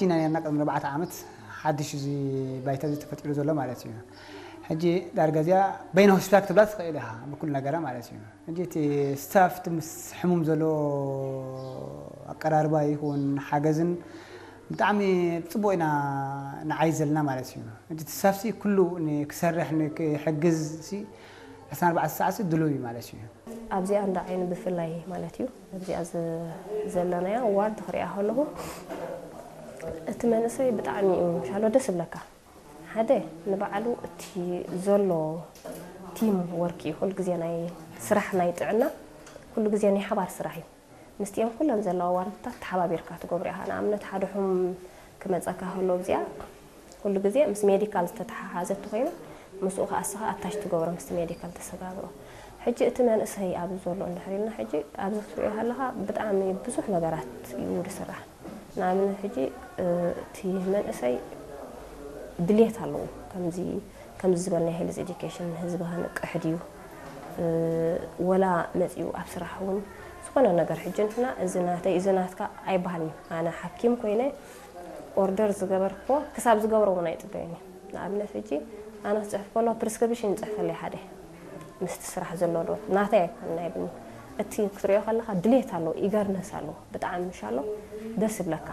ኢና ነርና ቅድሚ ኣርባዕተ ዓመት ሓድሽ እዚ ባይታ እዚ ተፈጢሩ ዘሎ ማለት እዩ። ሕጂ ዳርጋ እዚኣ በይነ ሆስፒታል ክትብላ ትኽእል ኢኻ ብኩሉ ነገራ ማለት እዩ። ሕጂ እቲ ስታፍ እቲ ምስ ሕሙም ዘሎ ኣቀራርባ ይኹን ሓገዝን ብጣዕሚ ጽቡቕ ኢና ንዓይ ዘለና ማለት እዩ። ሕጂ እቲ ስታፍሲ ኩሉ ን-፣ ክሰርሕ ን-፣ ክሕግዝ ሲ ዕስራን ኣርባዕተን ሰዓት ሲ ድሉው እዩ ማለት እዩ። ኣብዚኣ እንዳ ዓይኒ ብፍላይ ማለት እዩ። ኣብዚኣ ዝ-፣ ዘለናያ ዋርድ ክሪኣ ከለኹ እቲ መንእሰይ ብጣዕሚ እዩ ሻሎ ደስ ይብለካ። ሓደ ንባዕሉ እቲ ዘሎ ቲም ወርክ እዩ። ኩሉ ግዜ ናይ ስራሕ ናይ ጥዕና ኩሉ ግዜ ናይ ሓባር ስራሕ እዩ። ምስቲኦም ኩለን ዘለዋ ዋርድታት ተሓባቢርካ ትገብሮ ኢኻ። ንኣብነት ሓደ ሕሙም ክመጸካ ከሎ ኣብዚኣ ኩሉ ግዜ ምስ ሜዲካል ዝተተሓሓዘ እንተኾይኑ ምስኡ ከኣ እስኻ ኣታች ትገብሮ ምስቲ ሜዲካል ተሰጋግሮ። ሕጂ እቲ መንእሰይ ኣብዚ ዘሎ እንድሕር ኢልና ሕጂ ኣብዚ ክትሪኦ ከለኻ ብጣዕሚ ብዙሕ ነገራት እዩ ዝስራሕ። ንኣብነት ሕጂ እ፣ እቲ መንእሰይ ድሌት ኣለዎ ከምዚ ከምዚ ዝበልናዮ ሄልዝ ኤዱኬሽን ንህዝቢ ከንቅሕ ድዩ እ፣ ወላ መፂኡ ኣብ ስራሕ እውን ዝኾነ ነገር ሕጂ ንሕና እዚ ናተይ እዚ ናትካ ኣይበሃልን እዩ። ኣነ ሓኪም ኮይነ ኦርደር ዝገበርክዎ ክሳብ ዝገብሮ እውን ኣይፅበዮን እዩ። ንኣብነት ሕጂ ኣነ ክፅሕፍ ከሎ ፕሪስክሪፕሽን ይፅሕፈለይ ሓደ ምስቲ ስራሕ ዘሎ ዶ ናተይ ኣይኮን ናይ ብኒ እቲ ክትሪኦ ከለካ ድሌት ኣለዎ ኢገርነስ ኣለዎ ብጣዕሚ ምሻሎ ደስ ይብለካ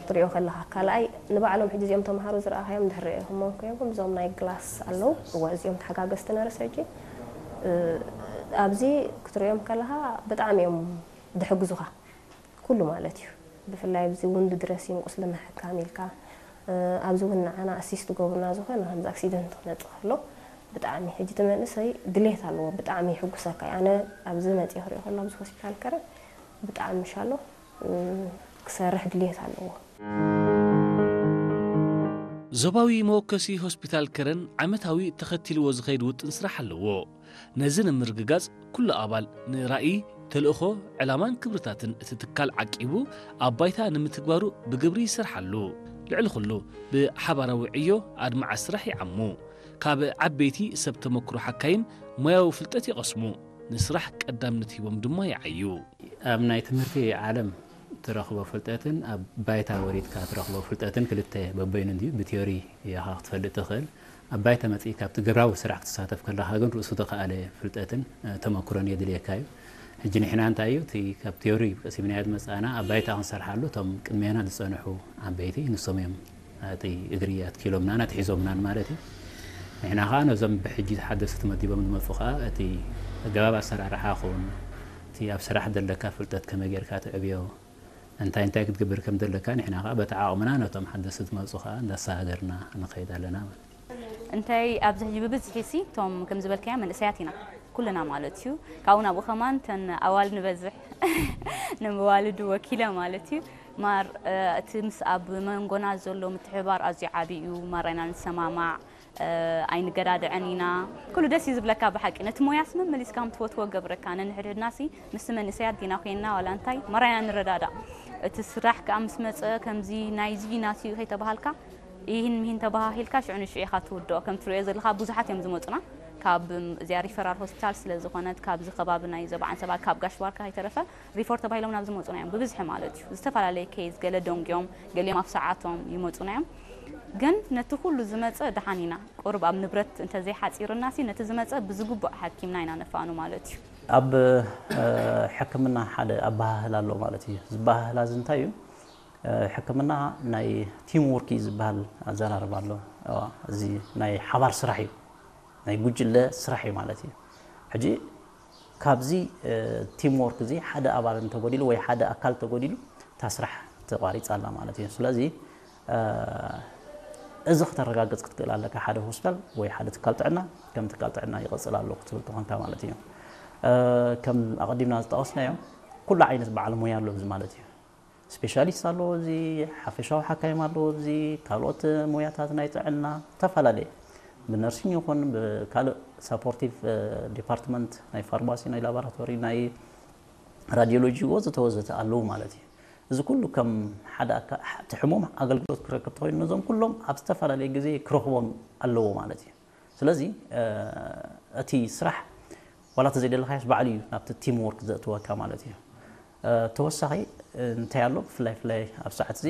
ክትሪኦ ከለካ ካልኣይ ንባዕሎም ሕጂ እዚኦም ተምሃሮ ዝረኣካዮም ድሕሪ ኢኹሞም ኮይንኩም እዞም ናይ ግላስ ኣለዉ እወ እዚኦም ተሓጋገዝቲ ነርስ ሕጂ እ፣ ኣብዚ ክትሪኦም ከለካ ብጣዕሚ እዮም ድሕግዙኻ ኩሉ ማለት እዩ። ብፍላይ ኣብዚ ውንድ ድረሲንግ ቁስሊ ምሕካም ኢልካ ኣብዚ እውን ንዓና ኣሲስት ገብሩና ዝኾነ ከምዚ ኣክሲደንት ክመፅእ ከሎ ብጣዕሚ ሕጂ እቲ መንእሰይ ድሌት ኣለዎ ብጣዕሚ ይሕጉሰካ ኣነ ኣብዚ መፅእ ክሪኦ ከሎ ኣብዚ ሆስፒታል ከረ ብጣዕሚ ምሻሎ ክሰርሕ ድሌት ኣለዎ። ዞባዊ መወከሲ ሆስፒታል ከረን ዓመታዊ ተኸቲልዎ ዝኸይድ ውጥን ስራሕ ኣለዎ። ነዚ ንምርግጋጽ ኩሉ ኣባል ንራእይ፣ ተልእኾ፣ ዕላማን ክብርታትን እቲ ትካል ዓቂቡ ኣብ ባይታ ንምትግባሩ ብግብሪ ይሰርሓሉ። ልዕሊ ኩሉ ብሓባራዊ ዕዮ ኣድማዒ ስራሕ ይዓሙ። ካብ ዓበይቲ ሰብ ተመክሮ ሓካይም ሞያዊ ፍልጠት ይቐስሙ፣ ንስራሕ ቀዳምነት ሂቦም ድማ ይዓዩ። ኣብ ናይ ትምህርቲ ዓለም ትረኽቦ ፍልጠትን ኣብ ባይታ ወሪድካ ትረኽቦ ፍልጠትን ክልተ በበይኑ እንድዩ ብቲዮሪ ኢኻ ክትፈልጥ ትኽእል ኣብ ባይታ መጺእካ ኣብቲ ግብራዊ ስራሕ ክትሳተፍ ከለኻ ግን ርእሱ ተኸኣለ ፍልጠትን ተመክሮን የድልየካ እዩ ሕጂ ንሕና እንታይ እዩ እቲ ካብ ቲዮሪ ቀሲምናዮ ዝመጻእና ኣብ ባይታ ክንሰርሓሉ እቶም ቅድሜና ዝጸንሑ ዓበይቲ ንሶም እዮም እቲ እግሪ ኣትኪሎምናን ኣትሒዞምናን ማለት እዩ ንሕና ከዓ ነዞም ብሕጂ ሓደስቲ ተመዲቦም ዝመፁ ከዓ እቲ ኣገባብ ኣሰራርሓ ኹን እቲ ኣብ ስራሕ ዘለካ ፍልጠት ከመይ ጌርካ ትዕብዮ እንታይ እንታይ ክትገብር ከም ዘለካ ንሕና ከዓ በቲ ዓቕምና ነቶም ሓደስቲ ዝመፁ ከዓ እንዳሰጋገርና ንኸይድ ኣለና ማለት እዩ። እንታይ ኣብዚ ሕጂ ብብዝሒ ሲ እቶም ከም ዝበልካዮ መንእሰያት ኢና ኩልና ማለት እዩ ካብኡ ናብኡ ከማን ተን ኣዋል ንበዝሕ ንምዋልድ ወኪለ ማለት እዩ ማር እቲ ምስ ኣብ መንጎና ዘሎ ምትሕባር ኣዝዩ ዓቢ እዩ ማራይና ንሰማማዕ ኣይንገዳድዐን ኢና ኩሉ ደስ እዩ ዝብለካ ብሓቂ ነቲ ሞያስ መመሊስካ ከም ትፈትዎ ገብረካ ነንሕድሕድናሲ ምስቲ መንእሰያት ዲና ኮይንና ዋላ እንታይ መራይና ንረዳዳእ እቲ ስራሕ ከዓ ምስ መፀ ከምዚ ናይዚ ናትዩ ከይተባሃልካ ይህን ምሂን ተባሃሂልካ ሽዑ ንሽዑ ኢኻ ትውድኦ ከም ትሪኦ ዘለካ ብዙሓት እዮም ዝመፁና ካብ እዚኣ ሪፈራል ሆስፒታል ስለ ዝኾነት ካብዚ ከባቢ ናይ ዘባዓን ሰባ ካብ ጋሽ ባርካ ከይተረፈ ሪፎር ተባሂሎም ናብ ዝመፁና እዮም ብብዝሒ ማለት እዩ ዝተፈላለየ ኬዝ ገለ ደንጉዮም ገሊኦም ኣብ ሰዓቶም ይመፁና እዮም ግን ነቲ ኩሉ ዝመፀ ደሓን ኢና ቁሩብ ኣብ ንብረት እንተዘይሓፂሩና ሲ ነቲ ዝመፀ ብዝግቡእ ሓኪምና ኢና ነፋኑ ማለት እዩ። ኣብ ሕክምና ሓደ ኣበሃህላ ኣሎ ማለት እዩ። ዝበሃህላ እዚ እንታይ እዩ? ሕክምና ናይ ቲም ወርክ እዩ ዝበሃል ኣዘራርባ ኣሎ። እዚ ናይ ሓባር ስራሕ እዩ፣ ናይ ጉጅለ ስራሕ እዩ ማለት እዩ። ሕጂ ካብዚ ቲም ወርክ እዚ ሓደ ኣባል እንተጎዲሉ ወይ ሓደ ኣካል ተጎዲሉ እታ ስራሕ ተቋሪፃ ኣላ ማለት እዩ። ስለዚ እዚ ክተረጋግፅ ክትክእል ኣለካ ሓደ ሆስፒታል ወይ ሓደ ትካል ጥዕና ከም ትካል ጥዕና ይቐፅል ኣሎ ክትብል ተኾንካ ማለት እዩ። ከም ኣቐዲምና ዝጠቐስናዮ ኩሉ ዓይነት በዓል ሞያ ኣሎ እዚ ማለት እዩ። ስፔሻሊስት ኣለዎ እዚ፣ ሓፈሻዊ ሓካይም ኣለዎ እዚ፣ ካልኦት ሞያታት ናይ ጥዕና ዝተፈላለየ ብነርሲንግ ይኹን ብካልእ ሳፖርቲቭ ዲፓርትመንት ናይ ፋርማሲ ናይ ላቦራቶሪ ናይ ራዲዮሎጂ ወዘተ ወዘተ ኣለዉ ማለት እዩ። እዚ ኩሉ ከም ሓደ እቲ ሕሙም ኣገልግሎት ክረክብ ተኾይኑ ነዞም ኩሎም ኣብ ዝተፈላለየ ግዜ ክረኽቦም ኣለዎ ማለት እዩ። ስለዚ እቲ ስራሕ ዋላ ተዘይደለኻዮስ ባዕሉ እዩ ናብቲ ቲም ወርክ ዘእትወካ ማለት እዩ። ተወሳኺ እንታይ ኣሎ ብፍላይ ፍላይ ኣብ ሰዓት እዚ